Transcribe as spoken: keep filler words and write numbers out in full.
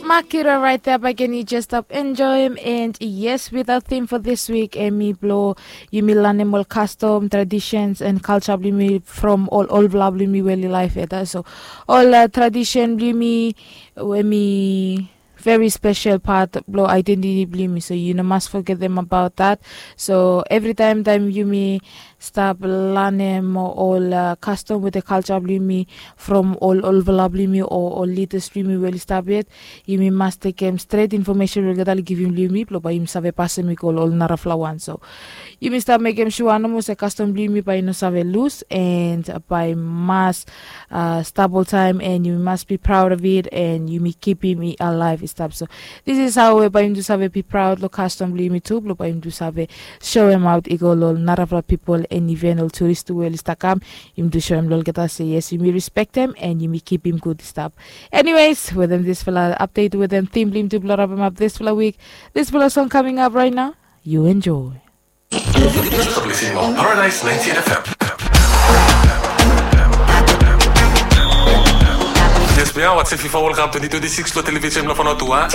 Makira right there, bae ken yu jes stap enjoem. And yes, with our theme for this week, em i blo yumi lanem ol kastom, traditions and culture blo yumi from ol olfala blo yumi we oli laef yet. So ol uh, tradition blo yumi, em i very special part blo identity blo yumi, so yu no mas forgetem about that. So evri taem taem yumi stap lanem ol uh, kastom wetem culture blo yumi from ol olfala blo yumi o ol lidas blo yumi we oli stap yet, yumi mas tekem stret infomesen we olgeta oli givim long yumi blo bae yumi save pasem i go long ol narafala wan. So yumi stap mekem sua nomo se kastom blo yumi bae i no save lus, and bae i mas uh, stap oltaem, and yumi mas be proud of it, and yumi kipim i alive i stap. So this is how we bae yumi tu save be proud long kastom blo yumi tu, blo bae yumi tu save soem aot i go long ol narafala pipol, and iven ol turis tu we oli stap kam, yumi tu soem long olgeta se yes, yumi respektem and yumi kipim gud i stap. Anyways, wetem disfala update, wetem theme blo yumi tu blo rapemap disfala wik, disfala song coming up right now. You enjoy. You're listening on Paradise ninety-eight F M. Yes, we are watching FIFA World Cup twenty twenty-six lo television lo Fano Tua.